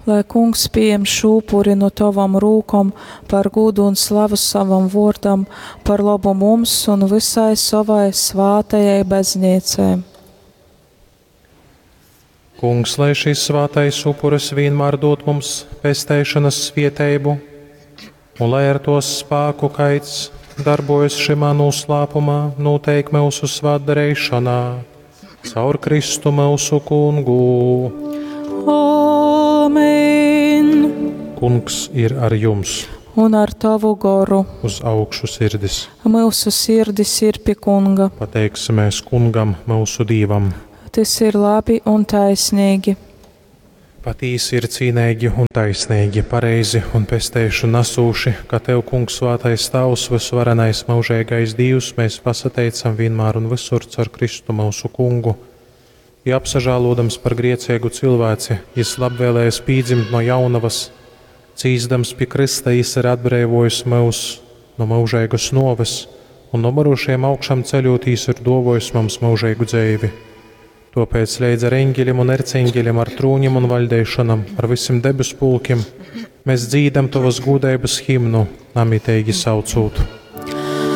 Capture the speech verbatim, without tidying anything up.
Lai Kungs pieņem šo upuri no tavam rūkom par gūdu un slavu savam vōrdam, par lobu mums un visai savai svātajai baznīcai. Kungs, lai šis svātais upuris vienmēr dod mums pesteišanas svieteibu, un lai ar tos spāku kaids darbojas šimā noslēpumā, noteik mūsu svētdarīšanā. Caur Kristu mūsu kungu. Amen. Kungs ir ar jums. Un ar tavu goru. Uz augšu sirdis. Mūsu sirdis ir pie kunga. Pateiksimies kungam, mūsu dīvam. Tas ir labi un taisnīgi. Patīsi ir cīnīgi un taisnīgi, pareizi un pesteišu nesūši, ka Tev, Kungs, svētais Tavs, visvarenais mūžīgais Dievs, mēs pasateicam vienmēr un visur caur Kristu mūsu kungu. Ja apsažālodams par griecīgu cilvēci, jis labvēlējas pīdzimt no jaunavas, cīzdams pie Krista, jis ir atbrīvojis mūs no mūžīgas noves un no mirušiem augšām ceļotīs ir dovojis mums mūžīgu dzīvi. Tāpēc līdz ar eņģeļiem un erceņģeļiem, ar trūņiem un valdīšanam, ar visiem debesu pulkiem, mēs dzīdam tavas gudrības himnu, namitīgi saucot.